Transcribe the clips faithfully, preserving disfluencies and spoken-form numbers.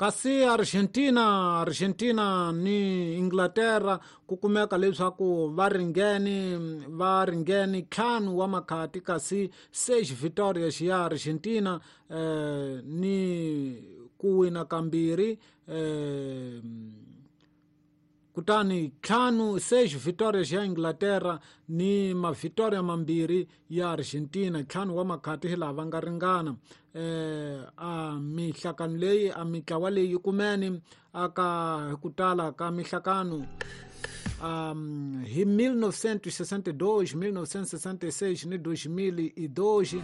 Kasi Argentina Argentina ni Inglaterra ku kumeka leswaku va ringene va ringene ntlhanu wa makhati kasi seis vitórias ya Argentina eh, ni ku wina kambirhi eh, kutani ntlhanu seis vitórias ya Inglaterra ni mavitoria mambirhi ya Argentina ntlhanu wa makhati hi laha va nga ringana eh a mihlakano leyi a mitlawa leyi kumene aka hi ku tala ka mihlakano um, hi mil novecentos e sessenta e dois, mil novecentos e sessenta e seis ni dois mil e dois.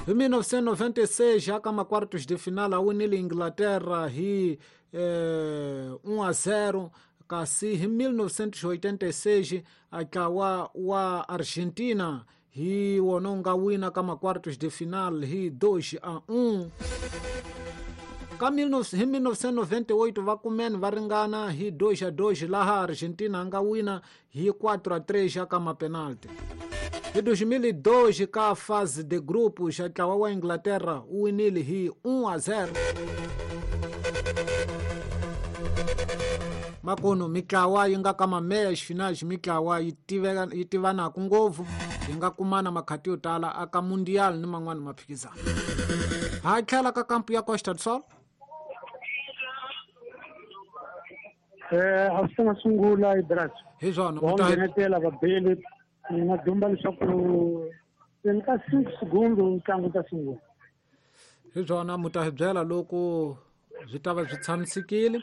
Hi mil novecentos e noventa e seis, aka ma-quartos de final a winile Inglaterra hi eh, um a zero kasi hi mil novecentos e oitenta e seis a ntlawa wa Argentina hi wona wu nga wina ka ma-quartos de final hi dois a um. Ka hi mil novecentos e noventa e oito va kumene va ringana hi dois a dois laha Argentina a nga wina hi quatro a três aka ma-penalti. Hi dois mil e dois ka fase de grupos a ntlawa wa Inglaterra wu winile hi um a zero. Makuno mitlawa yi nga ka mameyas finais mitlawa yi tiveka yi tivanaku ngopfu yi nga kumana makhati yo tala aka mundial ni man'wana maphikizano. Ha tlhela ka kampu ya Costa do Sol. Eh a swi nga sungula Ibras. Hi swona u ta nghenetela vabeli ni nga dumba leswaku ni ka six segundu ntlangu ta sungula. Hi swona mu ta hi byela loko byi ta va byi tshamisekile.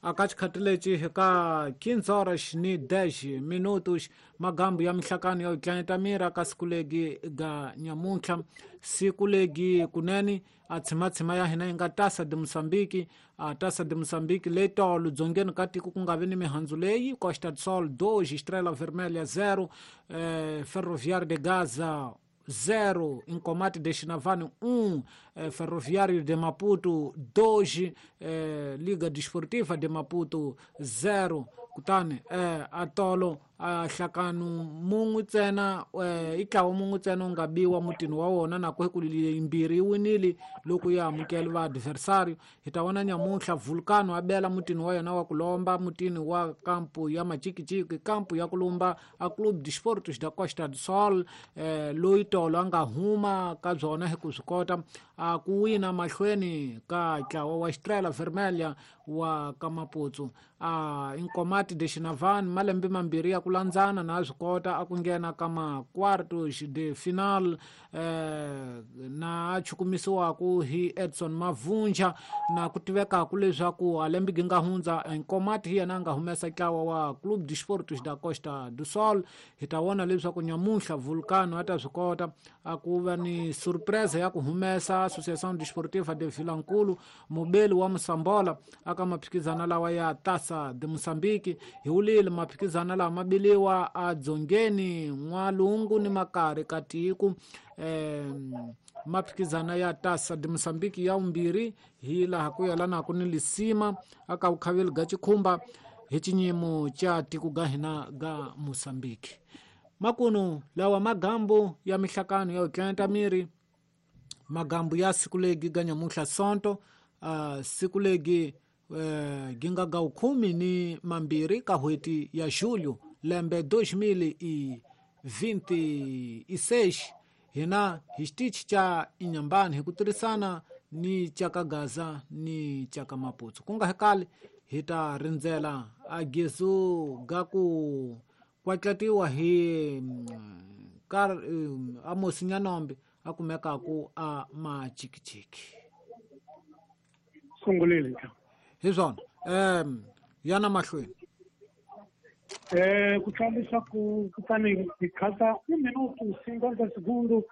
Aka xikhathi lexi hi ka quinze horas ni dez minutos magambu ya mihlakano ya tlanyeta miri aka siku legi ga nyamuntlha siku legi kunene a tshimatshima ya hina yi nga Taça de Moçambique a Taça de Moçambique leyi tolo dzongeni ka tiko ku nga vi ni mihandzu leyi Costa do Sol dois Estrela Vermelha zero eh, Ferroviário de Gaza zero, Incomate de Xinavane um, eh, Ferroviário de Maputo dois, eh, Liga Desportiva de Maputo zero. Kutani eh, atolo a hlakanu mun'we ntsena eh, i ntlawa mun'we ntsena wu nga biwa mutini wa wona na ku yimbirhi yi winile loko yi amukela va adversário. Hi ta vona nyamuntlha Vulcano a bela mutini wa yena wa ku lomba mutini wa kampu ya Machikichiki kampu ya ku lumba a Clube de Esportes da Costa do Sol eh, loyi tolo a nga huma ka byona hi ku swi kota a ku wina mahlweni ka ntlawa wa Estrela Vermelha wa ka Maputo a Incomate de Xinavane malembe mambirhi ya ku landzana na swi kota a ku nghena ka ma-quartos de final eh, na a chukumisiwaku hi Edson Mavunja na ku tivekaku leswaku a lembe gi nga hundza Incomate hi yena a nga humesa ntlawa wa Clube de Esportes da Costa do Sol. Hi ta vona leswaku nyamuntlha Vulcano a ta swi kota a ku va ni surpresa ya ku humesa Associação Desportiva de Vilankulu mubeli wa Moçambola aka maphikizana lawa ya Taça de Moçambique. Hi wulile maphikizana lawa ma biliwa a dzongeni n'walungu ni makari ka tiko eh, maphikizana ya Taça de Moçambique ya vumbirhi hi laha ku yelanaka ni lisima aka vukhaveli ga Chikhumba hi xinyimo xa tiko ga hina ga Moçambique. Makunu lawa magambu ya mihlakano ya tlanta miri magambu ya siku legi ga nyamuntlha sonto uh, siku legi uh, ginga ga khumi ni mambirhi ka n'hweti ya julho lembe dois mil e vinte e seis hina hi xitichi xa Inhambane hi ku tirhisana ni xa ka Gaza ni xa ka Maputo ku nga hekali hi ta rindzela a gezu ga ku kwatlatiwa hi ka Amos Nyanombe a kumekaku a Machikichiki. Sungulile hi swona um yana mahlweni eh ku tlangisa ku kutani hi khata un minuto cinquenta segundo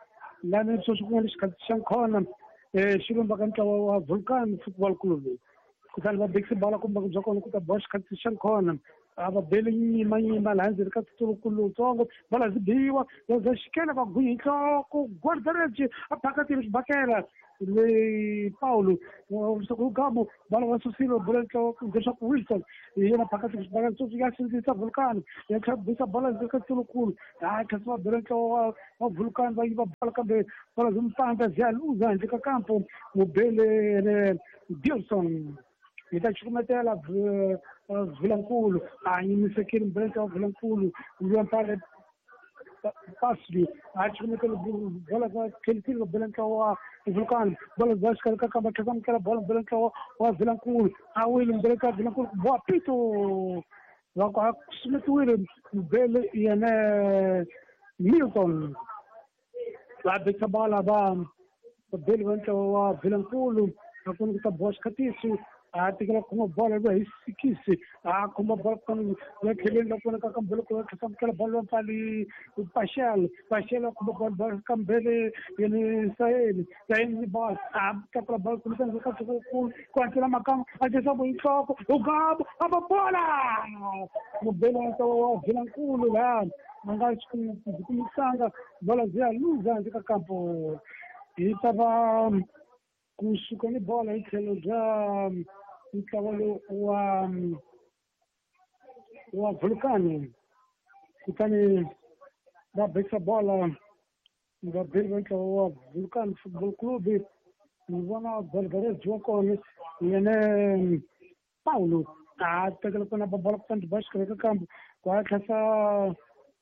lani sweswi ku nga le xikhathi xa nkhona eh xi lumba ka ntlawa wa Vulcan Football Club kutani va bekisa bala kumbe bya kona ku ta boxa xikhathi xa nkhona A va bele nyima nyima laha ndzeni ka tsutsulukulu lowutsongo bola byi biwa bya xikela va gwinya hi nhloko guardareci a phakatile xibakela leyi Paulo leswaku Gamo bola va susile bola nhloko leswaku Wilson hi yena phakatile xibakela sweswi ya sindzisa Vulcan ya tlhela bisa bola ndzeni ka tsutsulukulu a tlhela va bele nhloko wa wa Vulcan va yiva bola kambe bola byi mpandza byi ya luza handle ka kampo mubele Dilson hi ta cukumetela Vilankulu a nyimisekile mbeleka wa Vilankulu luya Pasli a cukumetela bola va tlhelisile mbeleka wa Vulcan bola bya xikarhi ka kamba tlhela amukela bola mbeleka wa Vilankulu a wile mbeleka wa Vilankulu ku boha pito va ku a sumetiwile mbele yena Milton va betsa bola va beli va ntlawa wa Vilankulu a ku ni ku ta boha xikhatiso a tekela khoma bola va hi sikisi a khoma bola kutani ya tlheleni la kona ka kambele ku tlhela amukela bola va pfali Pashel Pashel a khoma bola bola kambele yena Saheli Saheli ni bola a tlakula bola kumbexana ka ku ku hatlela Makamu a tisa bo nhloko Ugabo a ba bola mubele wa ntlawa wa Vilankulu laha a nga byi kumisanga bola byi ya luza handle ka kampo hi ta va kusuka ni bola hi tlhelo bya ntlawa lowu wa wa Vulcan kutani va bekisa bola va beli va ntlawa wa Vulcan Football Club ni vona Belgareji wa kona yena Paulo a tekela kona ba bola kutani ba xikarhi ka kambo ku a tlhasa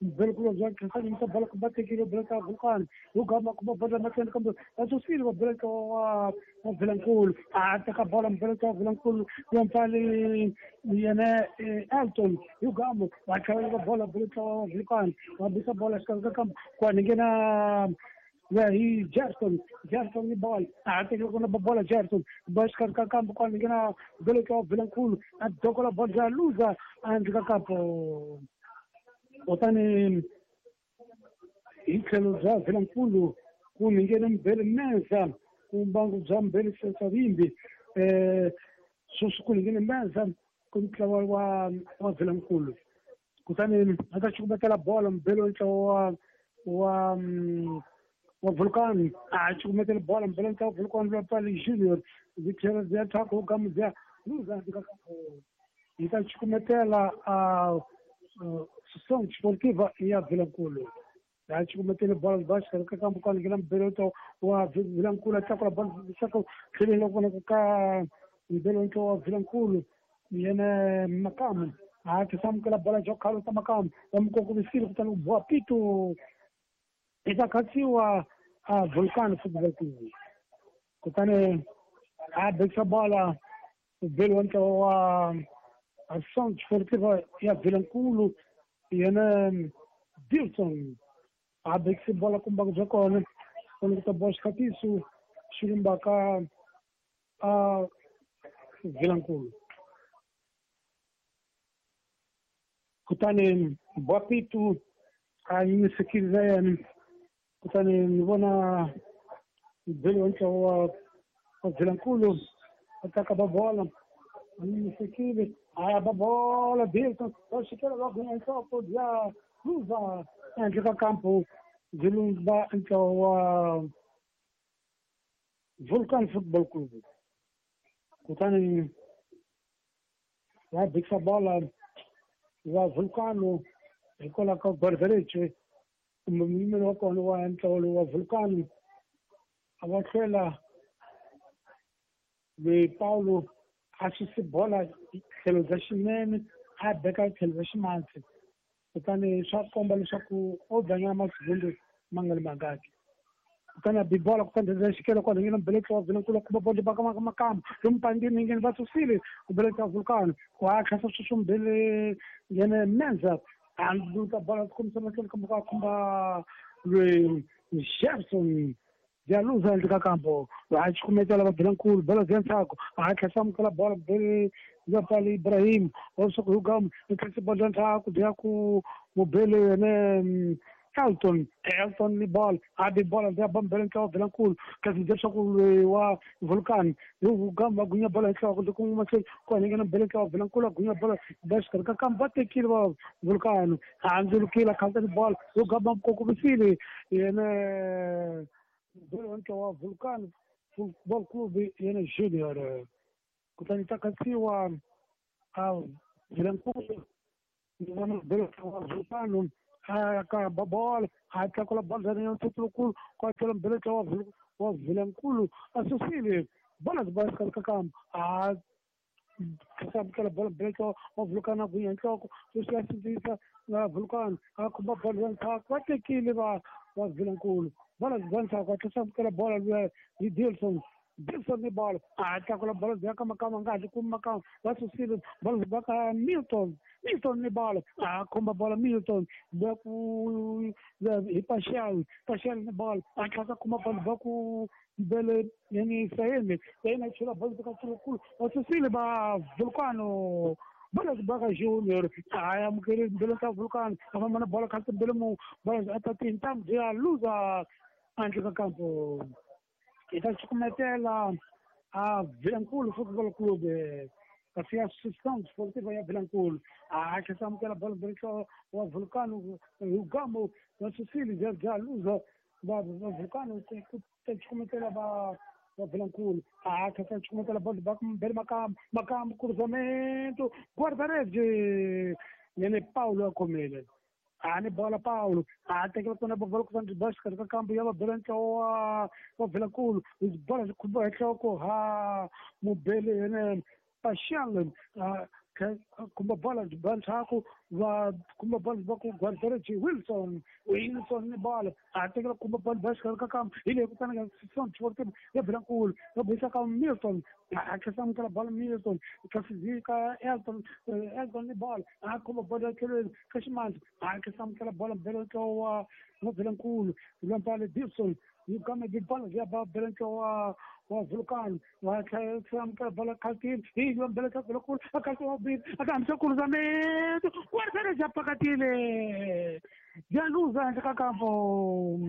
Belkulo bya tlhasa nyimisa bola ku va tekile bola ka Vulcan Ugamba ku ba bola mahlweni kambe va susile va bela ntlawa wa wa Vilankulu a teka bola mbeleka wa Vilankulu ya mpfali yena Elton Ugamba va tlhela va bola bela ntlawa wa Vulcan va bisa bola xikarhi ka kambo ku a nghena ya hi Gerson Gerson ni bola a tekile kona ba bola Gerson ba xikarhi ka kambo ku a nghena bela ntlawa wa Vilankulu a dokola bola ya luza handle ka kampo kutani hi tlhelo bya Vilankulu ku nghena Mbele Menza ku mbangu bya Mbele Savimbi eh sweswi ku nghena Menza ku ntlawa wa wa Vilankulu kutani a ta cukumetela bola Mbele wa ntlawa wa wa wa Vulcan a cukumetela bola Mbele ntlawa wa Vulcan lwa Pali Junior byi tlhela byi ya thyaka Ugamu byi ya luza handle ka kampo hi ta cukumetela a Associação Desportiva ya Vilankulu ya cukumetele bola ba xikarhi ka kambo kwale nghena mbele wa Vilankulu a tlakula bola leswaku tlheleni loko vonaka ka mbele ntlawa wa Vilankulu yena Makamu a tlhela amukela bola bya khalo ta Makamu va mu kongomisile kutani ku boha pito yi ta khatsiwa a Vulcan Football Club kutani a bekisa bola mbele wa ntlawa wa Associação Desportiva ya Vilankulu yena Dilson a bekise bola kumbangu bya kona kona ku ta boxa xikhatiso xi lumbaka a Vilankulu kutani Boapitu a yimisekile yena kutani ni vona mbele wa ntlawa wa Vilankulu a taka ba bola a yimisekile a ba bola Dilson va xikela va gwinya nhloko bya luza handle ka kampo byi lumba ntlawa wa Vulcan Football Club kutani va bekisa bola va Vulcano hikwalaho ka Guardarece kumbe muyimeri wa kona wa ntlawa lowu wa Vulcano a va hlwela loyi Paulo a suse bola tlhelo bya xinene a beka tlhelo bya ximatsi kutani swa komba leswaku o dlanyana masigundu ma nga ri mangaki kutani a bi bola kutani bya xikelo kwala nghena mbeleka wa Vilankulu kuma bola baka Makamu lomu pandini nghena va susile ku beleka Vulcan ku a tlhasa sweswo mbele yena Menza a luta bola kombisa mahlweni kambe ka khumba loyi Gerson bya luza handle ka kampo a cukumetela va Vilankulu bola bya ntsako a tlhela amukela bola bele ya Pali Ibrahim wa leswaku Hugamu i tlhela bola ntsako bya ku mubele yena Elton Elton ni bola a bi bola ya bambela ntlawa Vilankulu kasi leswaku loyi wa Vulcan gamba gunya bola hi nhloko loko mahlweni ku hanyeke bele ntlawa Vilankulu a gunya bola ba xikarhi ka kambe va tekile va Vulcan a handzulukile a khalta ni bola yo gamba kokomisile yena bele wa ntlawa wa Vulcan Football Club yena Junior kutani ta katsiwa a Vilankulu ni vona bele ntlawa wa Vulcan a ka bola a tlakula bola ya ntsutsulukulu kwa tlhela mbele ntlawa wa Vilankulu a susile bola ba xikarhi ka kamba a tlhela bola mbele ntlawa wa Vulcan a gunya nhloko sweswi ya sindzisa na Vulcan a khumba bola ya ndzhaku va tekile va va Vilankulu bola ba ndzhaku a tlhela amukela bola luya hi Dilson Dilson ni bola a tlakula bola ya ka makama nga hatli kumi makama va susile bola ba ka Milton Milton ni bola a khumba bola Milton ba ku hi Paxal Paxal ni bola a tlhela khumba bola ba ku bele yani Sayeni Sayeni a chela bola ka Sulukulu va susile va Vulcano bola ba ka Junior a amukele bele ka Vulcano a famba na bola kha bele mu bola a ta tintam ya luza handle ka kampo hi ta cukumetela a Vilankulu Football Club kasi ya Associação Desportiva ya Vilankulu a tlhela amukela bola mbele wa Vulcano Rugamo va susile bya bya luza va va Vulcano ku ta cukumetela va va Vilankulu a tlhela cukumetela bola ba mbele Makamba Makamba cruzamento guarda-redes yene Paulo a khomile a ni bola Paulo a tekela kona bola ku ba xikarhi ka kambu ya va bela ntlawa wa Vilankulu bola byi khumba hi nhloko ha mubele yene Paxal a khumba bola byi ba ndzhaku va khumba bola va ku guarda-redes Wilson Wilson ni bola a tekela khumba bola ba xikarhi ka kambu hi leyi kutani ka Associação Desportiva ya Vilankulu va buisa ka Milton a tlhela amukela bola Milton kasi ka Elton Elton ni bola a khumba bola ya tlhelweni ka ximanzi a tlhela amukela bola mbele ntlawa wa Vilankulu Lwampale Dilson yi kama bi bola ya ba bele ntlawa wa Vulcan wa tlhela amukela bola khaltini hi mbele ka Vilankulu a khalta wa bili a ka hambisa cruzamento guarda-redes ya pakatile ya luza handle ka kampo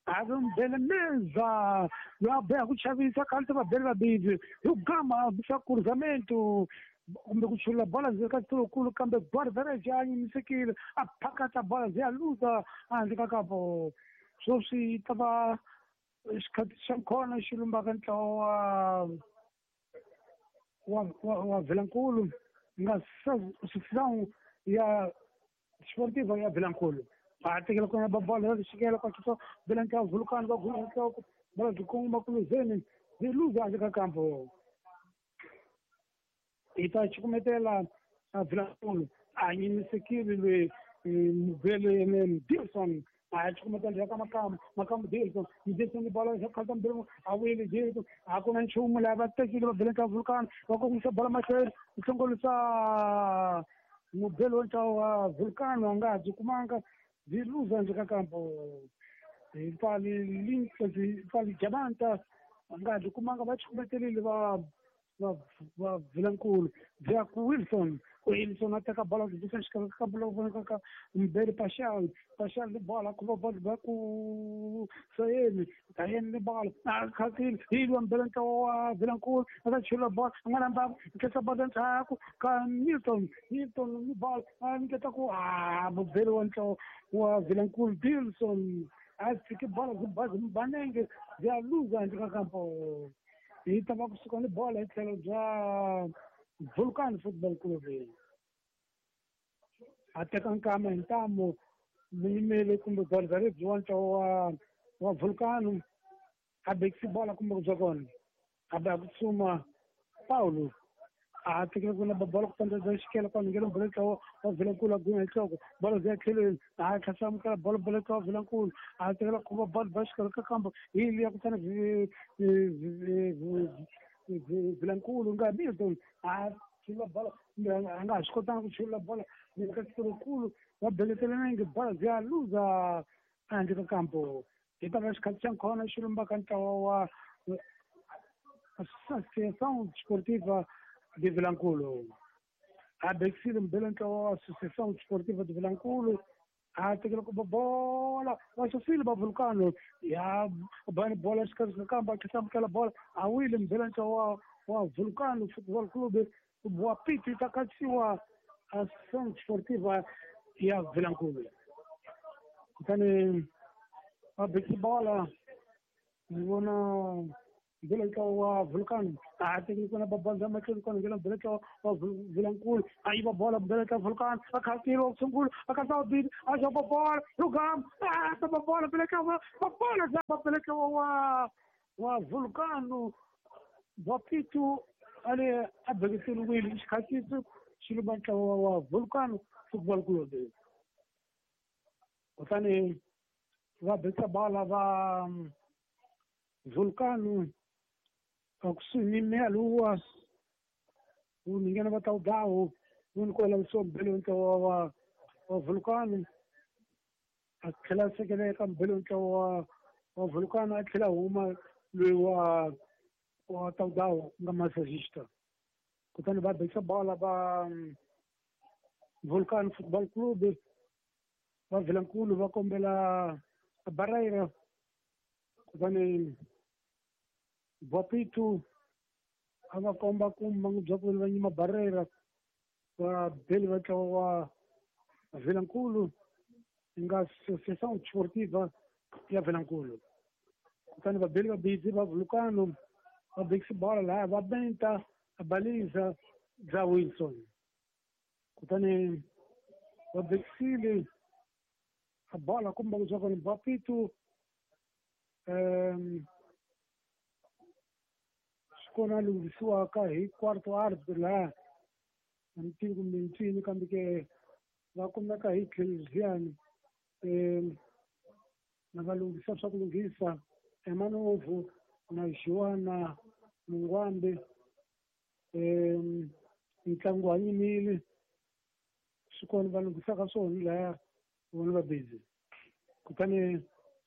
a mbele meza ya beha ku chavisa khalta va bele vabili hi ku gama hambisa cruzamento kumbe ku chula bola ndzeni ka xiturukulu kambe guarda-redes ya nyimisekile a phakata bola ya luza handle ka kampo sweswi ta va xikhathi xa khona xi lumbaka ntlawa wa wa wa Vilankulu nga Associação ya Desportiva ya Vilankulu a tekela kona ba bola ya xikela kwa xo Vilankulu Vulcano va gunya nhloko bola byi kongoma kuluzeni byi luza handle ka kampo hi ta cukumetela a Vilankulu a nyimisekile loyi mubele yene Dilson a cukumetela ya ka Makamba Makamba Dilson Dilson ni bola ya khalta mbele a wile Dilson a ku na nchumu laha va tekile va bele ka Vulcano va kongomisa bola mahlweni ku hlongolisa mubele wa ntlawa wa Vulcano a nga ha byi kumanga byi luza handle ka kampo hi pfali pfali Jamanta a nga ha byi kumanga va cukumetelile va va va Vilankulu byi ya ku Wilson Wilson a teka bola byi bisa xikarhi ka kampo loko vonakaka mbele Paxal Paxal ni bola khumba bola ba ku Sayeni Sayeni ni bola a khaltile hi lwa mbele ntlawa wa Vilankulu a ta chela bola a nga namba nkhetsa bola ndzhaku ka Milton Milton ni bola a nyiketa ku a mubele wa ntlawa wa Vilankulu Dilson a tshiki bola byi ba byi banenge byi ya luza handle ka kampo hi ta va kusuka ni bola hi tlhelo bya Vulcan Football Club a teka nkama hi ntamu muyimeli kumbe guarda-redes wa ntlawa wa wa Vulcano a bekisi bola kumbe ku bya kona a ba ku tsuma Paulo a tekela ku na bola ku pandza xikela kwa ngena bola ntlawa wa Vilankulu a gunya hi nhloko bola byi ya tlhelweni a tlhela amukela bola bola ntlawa wa Vilankulu a tekela khumba bola ba xikarhi ka kampo hi liya kutani Vilankulu nga Milton a chula bola a nga ha swi kotanga ku chula bola ka xiturukulu va beletele nenge bola byi ya luza handle ka kampo hi ta va xikhathi xa khona xi lumbaka ntlawa wa Associação Desportiva de Vilankulu a bekisile mbele ntlawa wa Associação Desportiva de Vilankulu A tekela ku bola va susile va Vulcano ya bani bola xikarhi ka kamba a amukela bola a wile mbela ntlawa wa wa Vulcano Football Club wa piti ta katsiwa Ação Desportiva ya Vilankulu. Kutani va beki bola ni vona mbela ntlawa wa Vulcano a tekeli kona babandza mahlweni kona ngena mbela ntlawa wa Vilankulu a yiva bola mbela ntlawa Vulcano a khatile wa sungula a khatsa wa bili a xopa bola lugam a tapa bola mbela ntlawa wa bola za mbela ntlawa wa wa Vulcano wa Pitu ale a bekiseriwile xikhatsiso xi lumba ntlawa wa Vulcano Football Club. Kutani va bekisa bola va Vulcano akusuhi ni meia-lua o ninguém vai estar o o único olha o belo então o o Vulcano aquela se que é belo então o o Vulcano aquela uma o o tal dao nga massagista kutani va bekisa bola va Vulcano Football Club va Vilankulu va kombela Barreira kutani Vapitu a va komba ku mangu bya ku va nyima Barreira va beli va ntlawa wa Vilankulu nga Associação Desportiva ya Vilankulu. Kutani va beli va busy va Vulcano va bekisa bola laha va benta a baliza bya Wilson. Kutani va bekisile a bola kumba ku bya kona Vapitu um kona lunghisiwaka hi quarto árbitro laha a ni tivi kumbe ncini kambe ke va kumeka hi tlheliziyani um na va lunghisa swa ku lunghisa Emanovu na Joana Mungwambe um ntlangu wa yimile swi kona va lunghisaka swona lahaya vona va busy. Kutani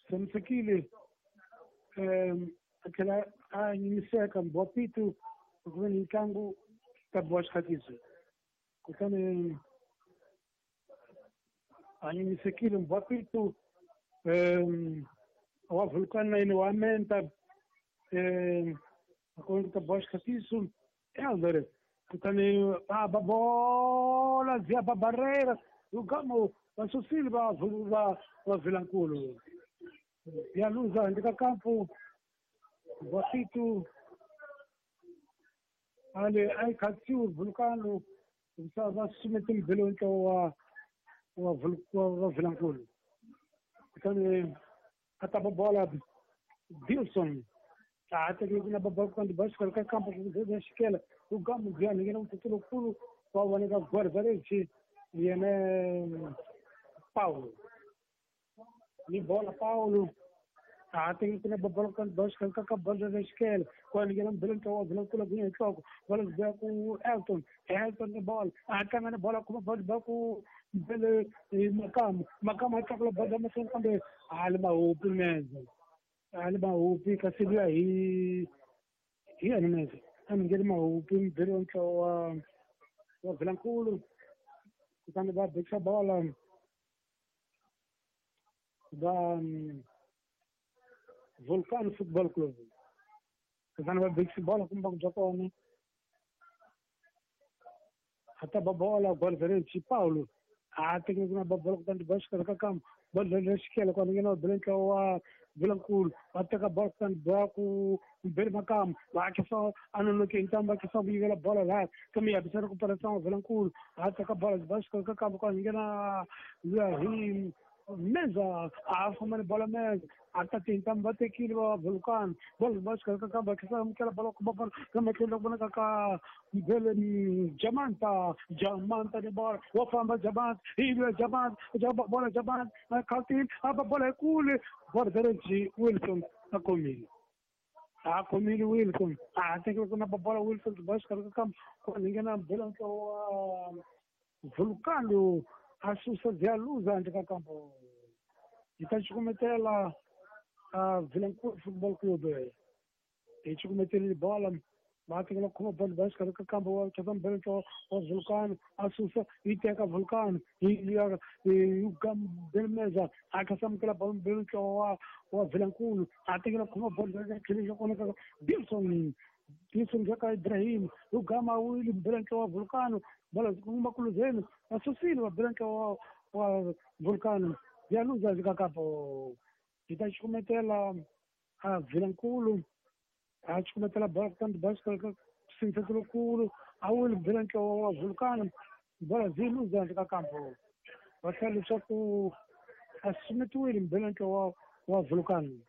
tshamisekile um a tlhela a nyimiseka Mbapitu ku ve ni ntlangu ta biwa xikhatsiso. Kutani a nyimisekile Mbapitu um wa Vulcano na yena wa menta um a kona ku ta biwa xikhatsiso Elder. Kutani a ba bola ziya ba Barreira lugamo va susile va va va Vilankulu ya luza handle ka kampo Vapitu ale a yi khatsiwe Vulcano va sumete mbele ntlawa wa wa wa Vilankulu. Kutani a tapa bola Dilson a tekile ku na bola kutani ba xikarhi ka kampo ku za xikela lugamo bya ngena mututulukulu wa voneka Guardarechi yena Paulo ni bola Paulo a tekile ku na bola kutani ba xikarhi ka ka bola za xikela kwa ngena mbele ntlawa wa Vilankulu ku nhloko bola bya ku Elton Elton ni bola a tlanga ni bola kuma bola ba ku mbele Makamu Makamu a tlakula bola mahlweni kambe a li mahupi menze a li mahupi kasi luya hi hi yena menze a mi ngeni mahupi mbele wa ntlawa wa wa Vilankulu. Kutani va bekisa bola va Vulcano Football Club. Kutani va bekisa bola kumba ku bya kona a ta ba bola Guardarechi Paulo a tekile ku na ba bola kutani ba xikarhi ka kampo bola le xikela kona ngena va bele ntlawa wa Vilankulu va teka bola kutani ba ku mbele Makamu va khisa a nonoke ntambu va khisa ku yivela bola laha kambe ya bisana ku pfala wa Vilankulu a teka bola ba xikarhi ka kampo kona ngena luya hi Meza a famba ni bola Meza a ta tintambu va tekile va Vulcano bola ba xikarhi ka kampo va khisa amukela bola kuma bola kambe tlhela ku vonaka ka mbele Jamanta Jamanta ni bola wa famba Jamanta hi luya Jamanta bola Jamanta a khatile a ba bola kule Guardarechi Wilson a khomile a khomile Wilson a tekile ku na bola Wilson ba xikarhi ka kampo kona ngena mbele ntlawa wa Vulcano a susa Dialuza handle ka kampo yi ta cukumetela a Vilankulu Football Club hi cukumetelile bola Va tekela khoma bolo ba xikarhi ka kambe wa tata mbele ntlawa wa Vulcan a susa yi teka Vulcan yi ya Belmeza a kha samukela bolo mbele ntlawa wa wa Vilankulu a tekela khoma bolo ka tlhelo xa kona ka Wilson Wilson ka Ibrahim ugama wili mbele ntlawa wa Vulcan bolo kuma kuluzeni a susile wa mbele ntlawa wa Vulcan ya luza ka kapo yi ta xukumetela a Vilankulu a chukumetela bola kutani bicycle ka sintsetse lokulu a wile bela ntlawa wa Vulcan bola zi luza handle ka kampo va tlhela leswaku a sumetiwile mbela ntlawa wa Vulcan.